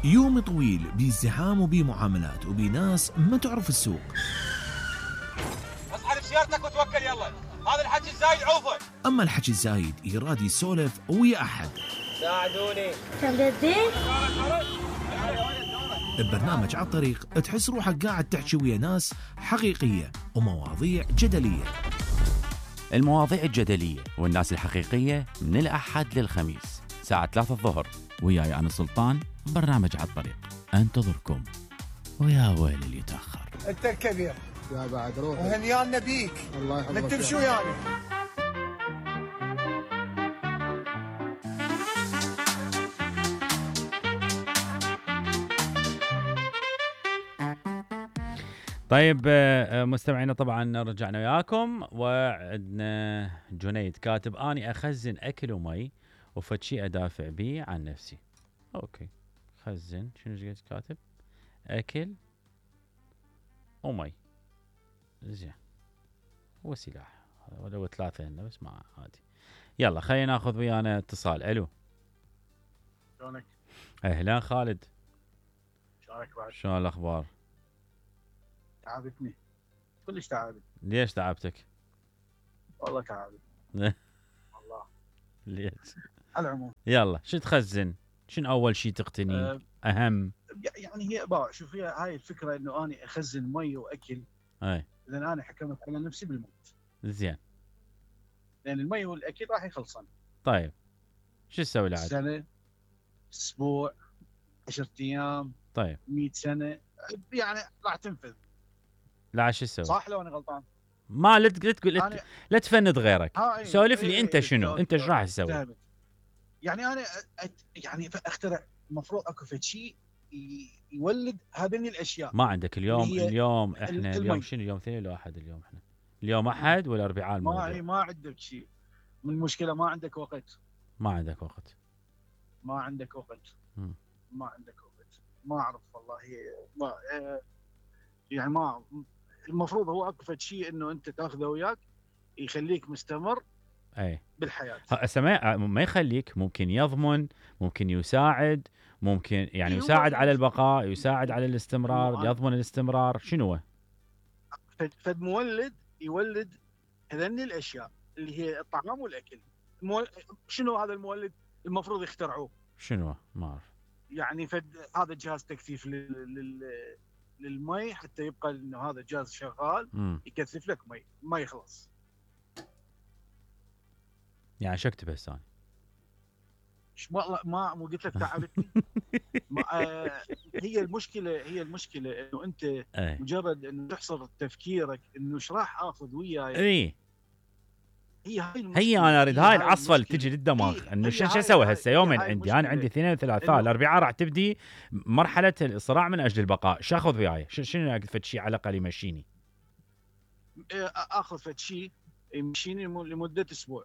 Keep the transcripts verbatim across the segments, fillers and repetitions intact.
يوم طويل بازدحام وبمعاملات وبناس ما تعرف السوق. اصحى بسيارتك وتوكل يلا، هذا الحكي الزايد عوفه. اما الحكي الزايد يراد يسولف ويا احد. ساعدوني. كم بدي؟ ببرنامج على الطريق تحس روحك قاعد تحكي ويا ناس حقيقية ومواضيع جدلية. المواضيع الجدلية والناس الحقيقية من الأحد للخميس ساعة ثلاثة الظهر، وياي أنا سلطان. برنامج على الطريق انتظركم، ويا ويل اللي يتأخر. انت الكبير يا بعد روح وهنيانا بيك. الله يحفظك. نكتب شو يعني؟ طيب مستمعينا، طبعا رجعنا وياكم وعندنا جنيد كاتب اني اخزن اكل ومي وفد شيء ادافع بيه عن نفسي. اوكي، خزن شنو قلت كاتب؟ اكل ومي. زين، هو سلاح ولو ثلاثه هنا بس ما عادي. يلا خلينا ناخذ ويانا اتصال. الو، شلونك؟ اهلا خالد، شلونك بعد؟ شلون الاخبار؟ تعبتني كلش تعبت. ليش تعبتك؟ والله تعبت والله. ليش؟ على العموم يلا شو تخزن؟ شنو اول شيء تقتني؟ أه اهم يعني هي باع شوف، هي هاي الفكره انه اني اخزن مي واكل. اي لان انا حكمت على نفسي بالموت. زين، لان المي والاكل راح يخلصن. طيب شو تسوي العاد؟ سنه، اسبوع، عشرة ايام، طيب مئة سنه، يعني راح تنفذ. لا شو تسوي؟ صح لو انا غلطان؟ ما لا تقول لا, أنا... لا تفند غيرك. إيه سولف لي إيه انت إيه شنو؟ إيه انت ايش راح تسوي؟ فهمت. يعني انا أت... يعني اخترع، المفروض اكو فد شيء يولد هذين الاشياء. ما عندك اليوم؟ اليوم احنا المي. اليوم شنو؟ اليوم اثنين ولا احد؟ اليوم احنا اليوم احد ولا اربعاء؟ الموضوع ما ما عندك شيء من المشكله، ما عندك وقت. ما عندك وقت ما عندك وقت م. ما عندك وقت ما اعرف والله. ما يعني ما المفروض هو اكو فد شيء انه انت تاخذه وياك يخليك مستمر اي بالحياه. هسه ما ما يخليك، ممكن يضمن، ممكن يساعد، ممكن يعني إيه يساعد هو على البقاء، يساعد على الاستمرار، هو يضمن الاستمرار. شنو هو؟ فد, فد مولد يولد هذني الاشياء اللي هي الطعام والاكل. مول... شنو هذا المولد المفروض يخترعوه؟ شنو؟ ما اعرف. يعني فد هذا جهاز تكثيف لل... لل... للمي، حتى يبقى انه هذا جهاز شغال م. يكثف لك مي ما يخلص. يعني شو اكتب هسه انا؟ ما ما مو قلت لك تعبتني. ما آه هي المشكله هي المشكله انه انت أي. مجرد انه تحصر تفكيرك انه ايش راح اخذ وياي. اي هي هاي المشكله. هي انا اريد هاي العصفه اللي تجي للدماغ انه شو اسوي هسه؟ يومين عندي، انا عندي اثنين وثلاثاء، الاربعاء راح تبدي مرحله الصراع من اجل البقاء. شو اخذ وياي؟ شنو اقفل شيء على الاقل يمشيني؟ اخذ فد شيء يمشيني لمده اسبوع.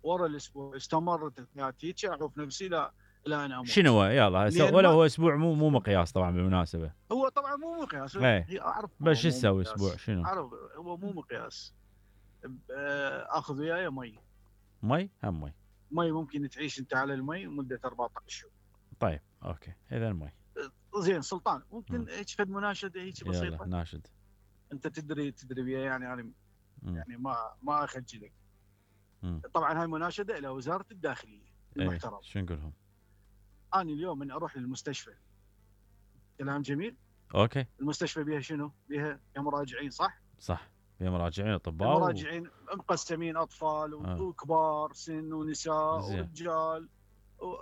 ورا الاسبوع استمرت حياتي اعرف نفسي لا لا انا اموت. شنو هو؟ يلا هسه ولا هو اسبوع مو مو مقياس طبعا بالمناسبه. هو طبعا مو مقياس. هي اعرف بس شو تسوي اسبوع؟ شنو؟ اعرف هو مو مقياس. اخذ وياي مي. مي هم مي. مي ممكن تعيش انت على المي مده أربعة عشر شهور. طيب اوكي، اذا المي. زين سلطان، ممكن هيك فد مناشده هيك بسيطه؟ يلا ناشد. انت تدري تدري بيها يعني انا م. يعني ما ما اخجلك. م. طبعا هاي مناشده الى وزاره الداخليه المحترم. ايه. شو نقولهم؟ انا اليوم من اروح للمستشفى، كلام جميل. اوكي. المستشفى بها شنو؟ بها مراجعين صح؟ صح، بها مراجعين اطباء. مراجعين و... مقسمين اطفال و... آه. وكبار سن ونساء زي. ورجال. و...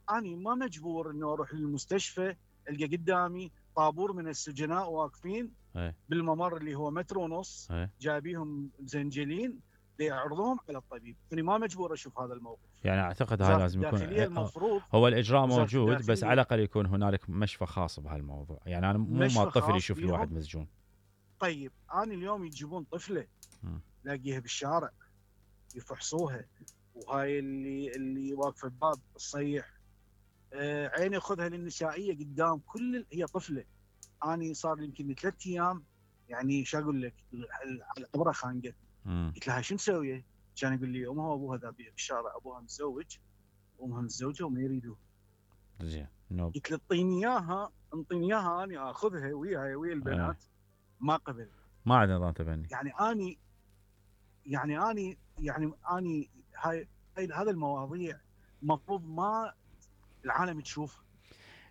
انا ما مجبور انه اروح للمستشفى القى قدامي طابور من السجناء واقفين ايه. بالممر اللي هو متر ونص. ايه. جايبيهم مزنجلين ليعرضوهم على الطبيب. انا ما مجبور اشوف هذا الموقف. يعني اعتقد هذا لازم يكون المفروض هو الاجراء موجود، بس على الاقل يكون هنالك مشفى خاص بهالموضوع. يعني انا مو ما الطفل يشوف الواحد مسجون. طيب انا اليوم يجيبون طفله لاقيها بالشارع يفحصوها، وهاي اللي اللي واقفه بباب الصيح آه عيني خذها للنسائيه قدام كل هي طفله. انا صار لي يمكن ثلاث ايام يعني شو اقول لك العبره خانقه. قلت لها شو مسويه؟ كان يقول لي امها وابوها ذابين بالشارع، ابوها متزوج وامها متزوجه وما يريدوه. زين نوب. قلت له اعطيني اياها انطيني اياها اني اخذها وياي ويا البنات. ما قبل. ما عندنا نظام تبني. يعني اني يعني اني يعني اني هاي هاي هذا المواضيع المفروض ما العالم تشوفها.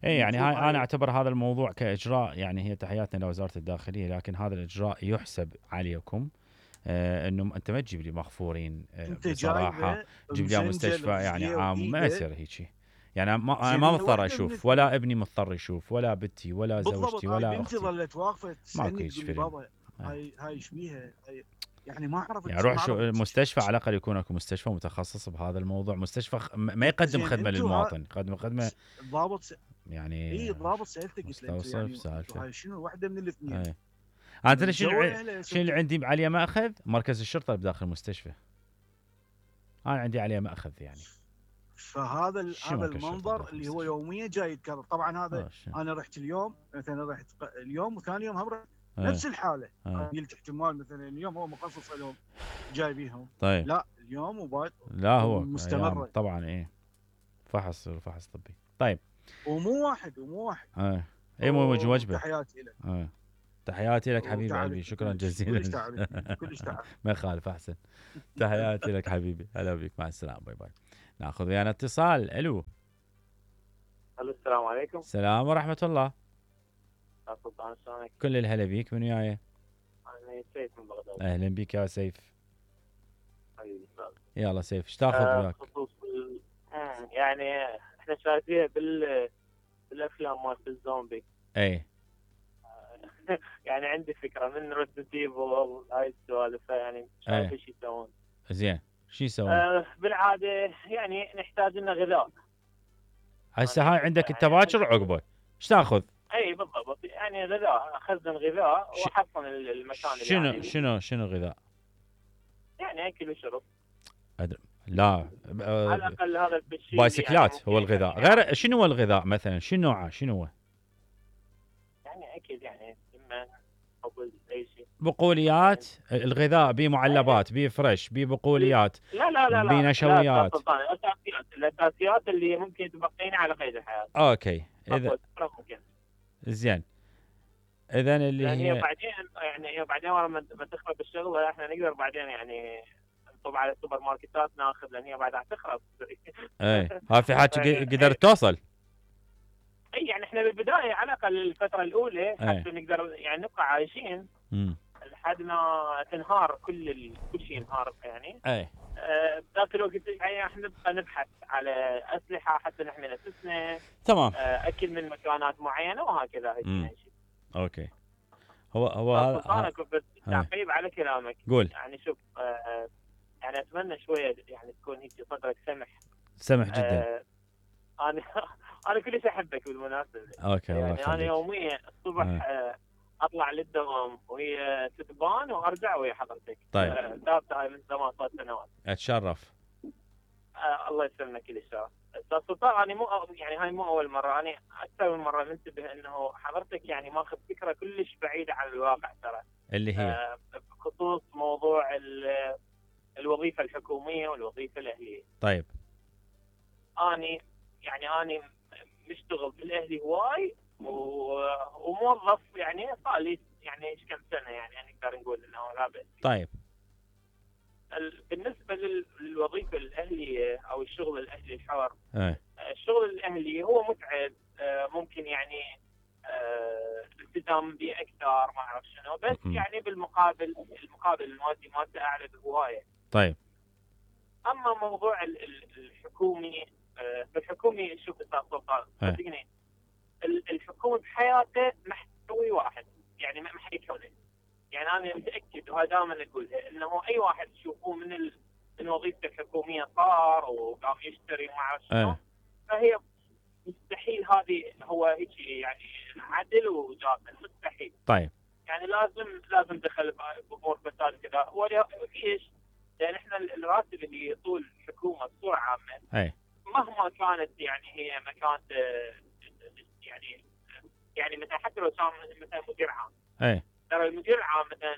اي يعني المفروض هاي هاي- انا اعتبر هذا الموضوع كاجراء، يعني هي تحياتنا لوزاره الداخليه، لكن هذا الاجراء يحسب عليكم. آه انه انت ما تجيب لي مغفورين آه انت بصراحه، جايبه تجيب لي مسنجل مستشفى يعني رجليه عام، ما وإيده. يصير هيك. يعني ما انا زين ما هي مضطر واحدة اشوف، من ولا ابني مضطر يشوف، ولا بنتي ولا بالضبط. زوجتي هاي ولا بنتي اختي. ظلت واقفه تسالني هيك تقول لي فيلم. بابا هاي هاي ايش بيها؟ هاي يعني ما عرفت يعني روح ما شو عرفت. المستشفى، على الاقل يكون اكو مستشفى متخصص بهذا الموضوع، مستشفى خ- ما يقدم زين خدمه انتو للمواطن، يقدم خدمه الضابط س... يعني اي الضابط سالته قلت له انتو مستوصف يعني سالفه. انتو هاي شنو واحده من الاثنين؟ اي انا تدري شنو جو ع- أهله شنو اللي ستة. عندي عليه ماخذ؟ مركز الشرطه بداخل المستشفى. انا عندي عليه ماخذ يعني. فهذا ال- شو هذا مركز شرطة المنظر داخل اللي هو المستشفى؟ يوميا جاي يتكرر. طبعا هذا آه، شو. انا رحت اليوم مثلا رحت ق- اليوم وثاني يوم هم رحت آه، نفس الحاله. آه. أنا قلت احتمال مثلا اليوم هو مخصص لهم جاي بيهم. طيب لا اليوم وبعد لا هو مستمرة. أيام طبعا ايه فحص فحص طبي. طيب ومو واحد ومو واحد. اه اي مو وجه وجبه. تحياتي لك. اه تحياتي لك حبيبي وتعب- قلبي، شكرا كلش- جزيلا. كلش تعبت كلش تعبت. ما يخالف، احسن. تحياتي لك حبيبي، هلا بك، مع السلامه، باي باي. ناخذ ويانا اتصال. الو. الو السلام عليكم. السلام ورحمه الله. يا سلطان شلونك؟ كل الهلا بيك، من وياي؟ انا سيف من بغداد. اهلا بك يا سيف. حبيبي استاذ. يلا سيف، ايش تاخذ آه، وياك؟ خصوص ال- مم، يعني احنا شايفينها بال بالافلام مالت الزومبي. اي يعني عندي فكره من ريزدنت ايفل هاي السوالف، يعني شايف ايش يسوون. زين، شو يسوون؟ آه بالعاده يعني نحتاج لنا غذاء. هسه هاي عندك التباشر وعقبه، ايش تاخذ؟ اي بالضبط، يعني غذاء، اخزن غذاء ش- واحصن المكان اللي شنو يعني شنو شنو غذاء؟ يعني اكل وشرب. لا على آه، الاقل هذا الشيء بايسكلات يعني هو ممكن الغذاء. يعني- غير شنو هو الغذاء مثلا؟ شنو نوعه؟ شنو هو؟ يعني اكل يعني اما خبز اي شيء. بقوليات؟ الغذاء بيه معلبات، بيه فريش، بيه بقوليات، لا لا لا لا بنشويات. لا سلطان، الاساسيات الاساسيات اللي ممكن تبقينا على قيد الحياه. اوكي اذا أفضل ممكن. زين، اذا اللي لان هي هي بعدين يعني هي بعدين ورا ما ما تخرب الشغله احنا نقدر بعدين يعني نطب على السوبر ماركتات ناخذ، لان هي بعدها تخرب. اي ها في حاجه قدرت توصل. اي يعني احنا بالبدايه على الاقل الفتره الاولى أي. حتى نقدر يعني نبقى عايشين امم لحد ما تنهار كل ال... كل شيء ينهار يعني. اي آه، بذاك الوقت يعني احنا نبقى نبحث على اسلحه حتى نحمي نفسنا، تمام. آه، اكل من مكانات معينه وهكذا. هيك مم. يعني شيء. اوكي، هو هو هذا انا ها- كنت بس تعقيب على كلامك. قول. يعني شوف آه، آه، يعني اتمنى شويه يعني تكون هيك صدرك سمح. سمح جدا. آه، انا انا كلش احبك بالمناسبه. اوكي الله يعني انا يخليك. يوميا الصبح آه. آه، اطلع للدوام وهي تتبان وارجع ويا حضرتك. طيب. آه، ثابته هاي من زمان صار سنوات. اتشرف. آه الله يسلمك كل الشرف. استاذ سلطان انا مو يعني هاي مو اول مره، انا اكثر من مره منتبه انه حضرتك يعني ماخذ فكره كلش بعيده عن الواقع ترى. اللي هي آه بخصوص موضوع ال- الوظيفه الحكوميه والوظيفه الاهليه. طيب. اني يعني اني مشتغل بالاهلي هواي و- وموظف يعني صار لي يعني ايش كم سنه يعني نقدر نقول انه لا بأس. طيب. ال- بالنسبه لل- للوظيفه الاهليه او الشغل الاهلي الحر، ايه الشغل الاهلي هو متعب، آه، ممكن يعني آه، الالتزام به اكثر ما اعرف شنو، بس م-م. يعني بالمقابل المقابل المادي مالته اعلى بهوايه. طيب. اما موضوع ال- ال- الحكومي، آه، بالحكومي شوف استاذ سلطان إيه. صدقني ال- الحكومي بحياته ما حيسوي واحد، يعني ما ما حيكونه. يعني انا متاكد وهذا دائما اقولها انه اي واحد تشوفوه من ال... من وظيفته الحكوميه صار وقام يشتري وما اعرف شنو، إيه. فهي مستحيل هذه هو هيك يعني عدل وجاهل، مستحيل. طيب. يعني لازم لازم دخل بامور فساد كذا. وليش؟ لان احنا الراتب اللي طول الحكومه بصوره عامه ايه مهما كانت يعني هي مكان يعني يعني مثلا حتى لو كان مثلا مدير عام، ايه ترى المدير العام مثلا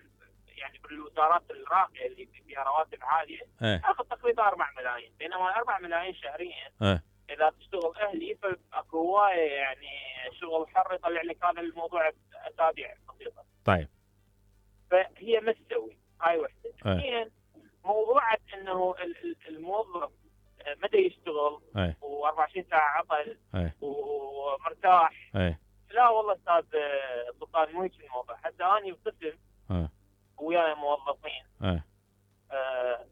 يعني بالوزارات الراقيه اللي فيها رواتب عاليه ايه ياخذ تقريبا أربعة ملايين، بينما أربعة ملايين شهريا ايه اذا تشتغل اهلي فاكو هوايه يعني شغل حر يطلع لك هذا الموضوع باسابيع بسيطه. طيب فهي ما تسوي هاي وحده. أي. اثنين موضوع انه ال- ال- الموظف متى يشتغل أي. وأربعة وعشرين ساعه عطل أي. ومرتاح. اي لا والله استاذ سلطان مو هيك الموضوع. حتى اني بقسم اي وياي موظفين اي آه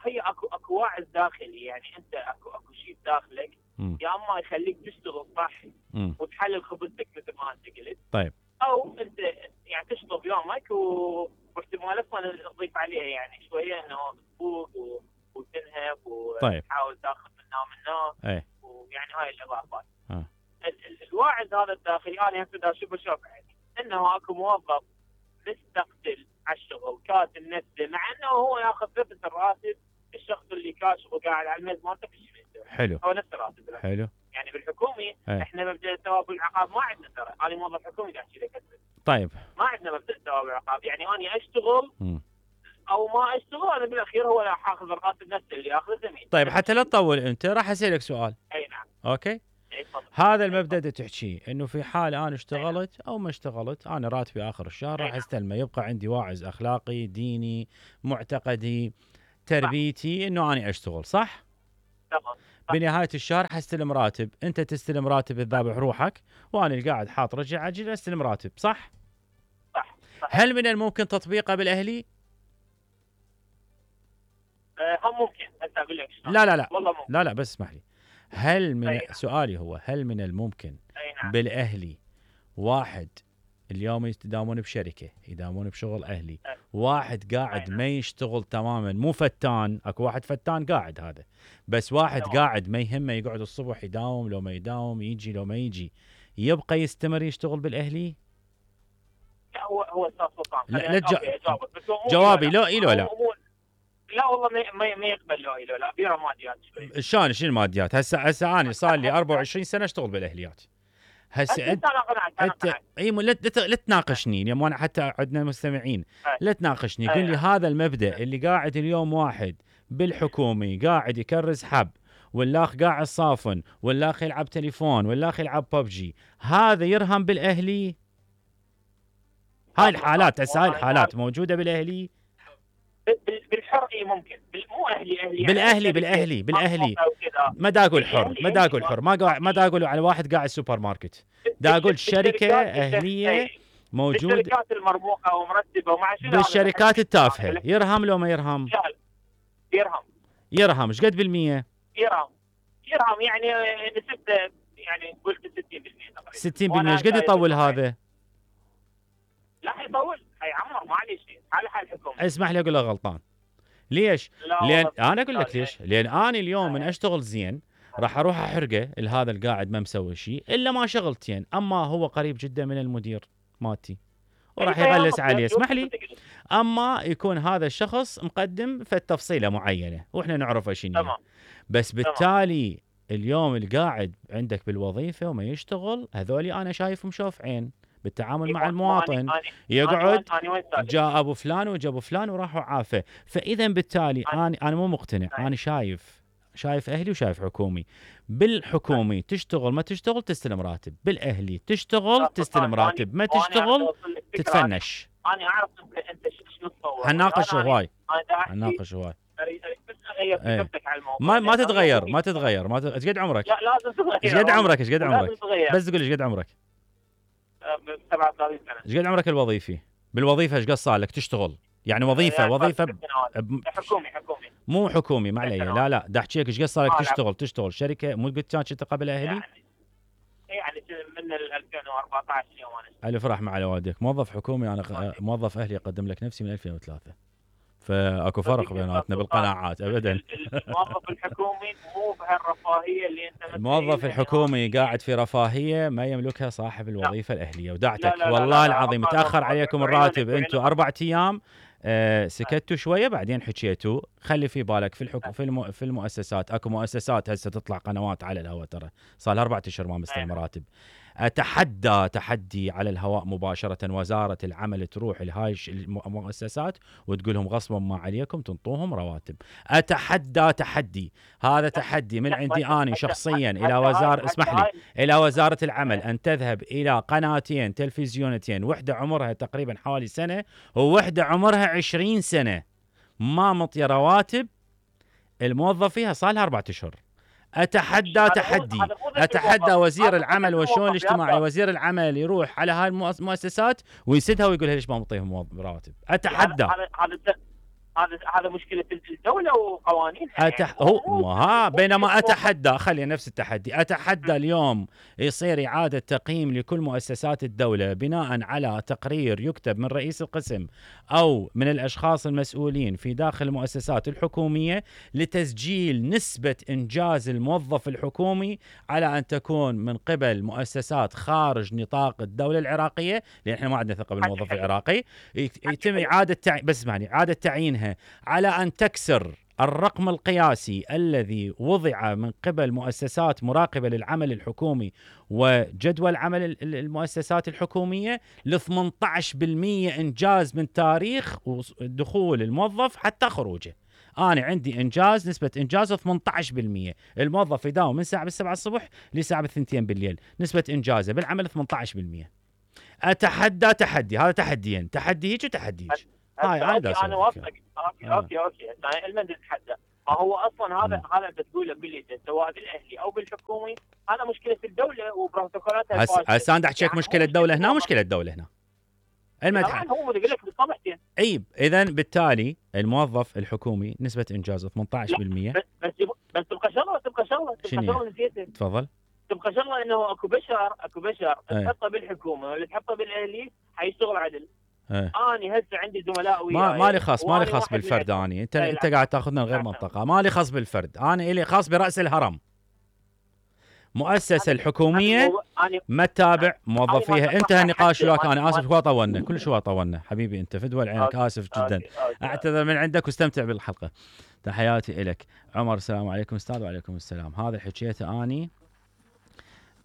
هي اكو اكو واعظ داخلي، يعني انت اكو اكو شيء بداخلك مم. يا اما يخليك تشتغل صح مم. وتحلل خبزتك مثل ما انت قلت، طيب او انت يعني تشطب يومك و... واحتمال اصلا تضيف عليها يعني شويه انه تفوق و... وتنهب طيب. وتحاول تاخذ منها ومنها اي ويعني هاي الاضافات. آه. ال- ال- الواعظ هذا الداخلي انا هسه اشوف اشوف يعني انه اكو موظف مستقتل على الشغل كاتب نفسه، مع انه هو ياخذ نفس الراتب الشخص اللي كاشف وقاعد على الميز مالته كل شيء يسوي. حلو هو نفس الراتب له. حلو يعني بالحكومي أي. احنا مبدا الثواب والعقاب ما عندنا ترى، انا موظف حكومي قاعد احكي لك طيب ما عندنا مبدا الثواب والعقاب، يعني انا اشتغل مم. او ما اشتغل انا بالاخير هو راح اخذ الراتب نفسه اللي ياخذه زميلي. طيب حتى لا تطول انت راح اسالك سؤال. اي نعم. اوكي أي تفضل. هذا المبدا اللي تحكيه انه في حال انا اشتغلت او ما اشتغلت انا راتبي اخر الشهر راح استلمه، يبقى عندي واعظ اخلاقي ديني معتقدي تربيتي انه انا اشتغل صح؟ تمام. بنهايه الشهر حستلم راتب، انت تستلم راتب الذابح روحك وانا اللي قاعد حاط رجع عجل استلم راتب صح؟ صح. صح. هل من الممكن تطبيقه بالاهلي؟ آه هم ممكن هسه اقول لك شلون. لا لا لا والله ممكن. لا لا بس اسمح لي. هل من أي نعم. سؤالي هو هل من الممكن اي نعم. بالاهلي واحد اليوم يداومون بشركه يداومون بشغل اهلي، أي. واحد قاعد أي نعم. ما يشتغل تماما مو فتان، اكو واحد فتان قاعد هذا، بس واحد تمام. قاعد ما يهمه يقعد الصبح يداوم لو ما يداوم يجي لو ما يجي يبقى يستمر يشتغل بالاهلي؟ لا هو هو استاذ سلطان لا، خليني- لا تجا- أوكي، أجاوبك. بس هو مو جوابي إيلو لا إيلو لا. مو- مو- لا والله ما ما ما يقبل له إيلو لا بيرة ماديات شوي. شلون شنو الماديات؟ هسه هسه انا صار لي أربعة وعشرين سنه اشتغل بالاهليات. هسه انت انا قنعت انا انت قنعت. اي مو- لا ت- لا تناقشني اليوم وانا حتى عندنا مستمعين أي. لا تناقشني أي قل لي نعم. هذا المبدا اللي قاعد اليوم واحد بالحكومي قاعد يكرز حب والاخ قاعد صافن والاخ يلعب تليفون والاخ يلعب ببجي هذا يرهم بالاهلي؟ هاي الحالات هسه هاي الحالات موجوده بالاهلي؟ بال- بالحر اي ممكن بال- مو اهلي اهلي يعني بالاهلي شركة بالاهلي بالاهلي مرموقة وكذا. ما دا اقول حر بالأهلي ما دا اقول أهلي. حر ما قاعد ما دا اقول على واحد قاعد سوبر ماركت، دا اقول شركه بالشركات- اهليه إي. موجود بالشركات المرموقه ومرتبه ومع شنو هذا بالشركات الحكي؟ التافهه يرهم لو ما يرهم؟ لا، يرهم يرهم ايش قد بالمية؟ يرهم يرهم يعني نسبته يعني قلت ستين بالمية تقريبا. ستين بالمية وأنا ايش قد شايف يطول إنه هذا؟ لا حيطول حيعمر ما عليه شيء حال حال الحكومه. اسمح لي اقول لك غلطان. ليش؟ لا لان والله انا اقول لك ليش؟ لان انا اليوم من اشتغل زين راح اروح احرقه لهذا القاعد ما مسوي شيء الا ما شغلتين، اما هو قريب جدا من المدير مالتي وراح يغلس عليه. اسمح لي اما يكون هذا الشخص مقدم في التفصيله معينه واحنا نعرفه شنو تمام. بس بالتالي اليوم القاعد عندك بالوظيفه وما يشتغل هذولي انا شايفهم شوف عين بالتعامل مع المواطن يقعد جاء ابو فلان وجا ابو فلان وراحوا عافه. فاذا بالتالي انا انا مو مقتنع، انا شايف شايف اهلي وشايف حكومي. بالحكومي تشتغل ما تشتغل تستلم راتب، بالاهلي تشتغل تستلم راتب ما تشتغل تتفنش. انا اعرف انت شنو تصور حناقش هواي انا حناقش هواي اريد بس اغير إيه. فكرتك على الموضوع. ما ما تتغير ما تتغير ما ايش قد عمرك؟ لا لازم تتغير. ايش قد عمرك ايش قد عمرك؟ لازم تتغير. بس تقول ايش قد عمرك؟ سبعة وثلاثين سنه. ايش قد عمرك الوظيفي؟ بالوظيفه ايش قد صار لك تشتغل؟ يعني وظيفه يعني وظيفه ست سنوات. ب... حكومي حكومي مو حكومي ما علي لا لا دا احكي لك ايش قد صار لك آه، لا. تشتغل تشتغل شركه مو قلت كانت انت قبل اهلي؟ يعني يعني من ال ألفين وأربعة عشر يوم انا الف رحمه على والديك. موظف حكومي انا غ- موظف اهلي اقدم لك نفسي من ألفين وثلاثة فاكو فرق بيناتنا بالقناعات ابدا. الموظف الحكومي مو بهالرفاهيه اللي انت متخيلها. الموظف الحكومي قاعد في رفاهيه ما يملكها صاحب الوظيفه الاهليه ودعتك لا لا لا والله لا العظيم لا متاخر لا عليكم لا الراتب لا لا انتم لا. اربع ايام آه سكتوا شويه بعدين حكيتوا. خلي في بالك في الحكم في الم... في المؤسسات اكو مؤسسات هسه تطلع قنوات على الهواء ترى صار لها اربع اشهر ما مستلم راتب. اتحدى تحدي على الهواء مباشره وزاره العمل تروح لهاي المؤسسات وتقول لهم غصبا ما عليكم تنطوهم رواتب. اتحدى تحدي، هذا تحدي من عندي اني شخصيا الى وزاره، اسمح لي، الى وزاره العمل ان تذهب الى قناتين تلفزيونتين، وحده عمرها تقريبا حوالي سنه ووحده عمرها عشرين سنه ما مطيه رواتب الموظف فيها، صار لها أربعة أشهر. أتحدى تحدي، أتحدى وزير العمل والشؤون الاجتماعي، وزير العمل يروح على هاي المؤسسات ويسدها ويقول ليش ما مطيهم رواتب. أتحدى. هذا هذا مشكلة الدولة وقوانينها. أتح... هو ها بينما أتحدى، خلي نفس التحدي، أتحدى اليوم يصير إعادة تقييم لكل مؤسسات الدولة بناء على تقرير يكتب من رئيس القسم أو من الأشخاص المسؤولين في داخل المؤسسات الحكومية لتسجيل نسبة إنجاز الموظف الحكومي على أن تكون من قبل مؤسسات خارج نطاق الدولة العراقية، لأن إحنا ما عندنا ثقة بالموظف العراقي. يتم إعادة تع... بس اسمعني، إعادة تعيينها على أن تكسر الرقم القياسي الذي وضع من قبل مؤسسات مراقبة للعمل الحكومي وجدول عمل المؤسسات الحكومية ل ثمانية عشر بالمئة إنجاز من تاريخ دخول الموظف حتى خروجه. أنا عندي إنجاز، نسبة إنجاز ثمانية عشر بالمئة، الموظف يداوم من ساعة بالسبعة الصبح لساعة بالثنتين بالليل، نسبة إنجازه بالعمل ثمانية عشر بالمئة. أتحدى تحدي، هذا تحديين، تحدي هيك وتحدي هيك. هاي أوكي أنا وافقك. أوكي آه. أوكي أوكي أنا المن نتحدى. هو أصلا هذا هذا بتقوله باللي سواء بالأهلي أو بالحكومي، هذا مشكلة الدولة وبروتوكولاتها الفاشلة. هسه أنا أحكي لك مشكلة الدولة هنا ومشكلة الدولة هنا. المدح هو يقول لك بالطبع. أي إذا بالتالي الموظف الحكومي نسبة إنجازه ثمانية عشر بالمئة. بس بس بس تبقى شغلة تبقى شغلة تبقى شغلة نسيتها. تفضل. تبقى شغلة إنه أكو بشر أكو بشر تحطه بالحكومة ولا تحطه بالأهلي حيشتغل عدل. ايه. اني هسه عندي زملاء وياي ما مالي خاص مالي خاص بالفرد. اني انت انت قاعد تاخذنا لغير منطقه. مالي خاص بالفرد، انا الي خاص براس الهرم. مؤسسه الحكوميه ما تتابع موظفيها. انتهى النقاش وياك، انا اسف هو طولنا كل شوي طولنا حبيبي، انت فدوى عينك، اسف جدا. اعتذر من عندك واستمتع بالحلقه. تحياتي الك عمر. السلام عليكم استاذ. وعليكم السلام. هذا حكيته اني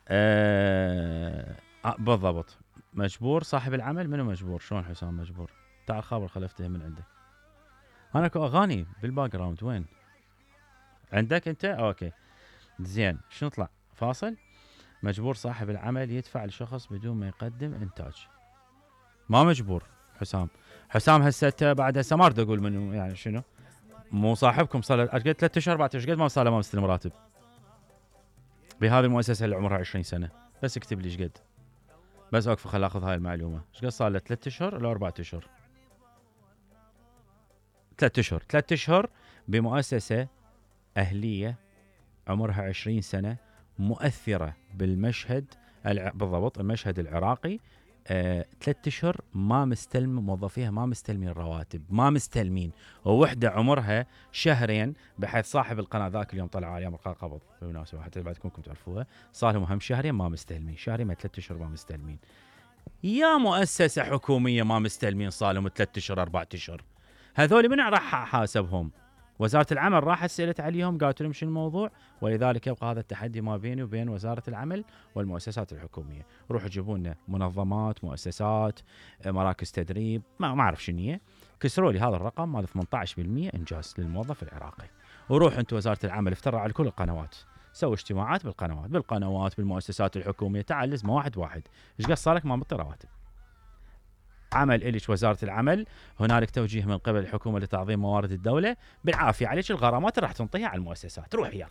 أه... بالضبط. مجبور صاحب العمل. منو مجبور؟ شلون حسام مجبور؟ تعال خابر خلفته من عندك. انا اكو اغاني بالباك جراوند. وين عندك انت؟ اوكي زين. شنو نطلع فاصل؟ مجبور صاحب العمل يدفع لشخص بدون ما يقدم انتاج. ما مجبور حسام. حسام هسه بعد هسه ما اريد اقول منو يعني شنو. مو صاحبكم صار له قد ثلاث اشهر اربع اشهر قد ما صار له ما مستلم راتب بهذه المؤسسه اللي عمرها عشرين سنه. بس اكتب لي ايش قد، بس اوقف خل اخذ هاي المعلومه. ايش قد صار له؟ ثلاث اشهر ولا اربع اشهر؟ ثلاث اشهر. ثلاث اشهر بمؤسسه اهليه عمرها عشرين سنه مؤثره بالمشهد الع... بالضبط المشهد العراقي. آه، ثلاث اشهر ما مستلم موظفيها، ما مستلمين رواتب، ما مستلمين. ووحده عمرها شهرين، بحيث صاحب القناه ذاك اليوم طلع عليها مرقى قبض بالمناسبه حتى بعدكم تعرفوها، صار لهم هم شهرين ما مستلمين، شهرين ما ثلاث اشهر ما مستلمين. يا مؤسسه حكوميه ما مستلمين صار لهم ثلاث اشهر اربع اشهر، هذول من راح حاسبهم؟ وزارة العمل راحت سألت عليهم قالت لهم شنو الموضوع، ولذلك يبقى هذا التحدي ما بيني وبين وزارة العمل والمؤسسات الحكومية. روحوا جيبوا لنا منظمات، مؤسسات، مراكز تدريب، ما ما اعرف شنو هي، كسروا لي هذا الرقم مال ثمانية عشر بالمئة انجاز للموظف العراقي. وروح انت وزارة العمل افترع على كل القنوات، سوي اجتماعات بالقنوات بالقنوات بالمؤسسات الحكومية، تعال لزمه واحد واحد، ايش قد صار لك ما مطي رواتب؟ عمل إليش وزارة العمل، هنالك توجيه من قبل الحكومة لتعظيم موارد الدولة، بالعافية عليك الغرامات راح تنطيها على المؤسسات. روح يلا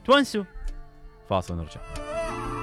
تونسوا. فاصل نرجع.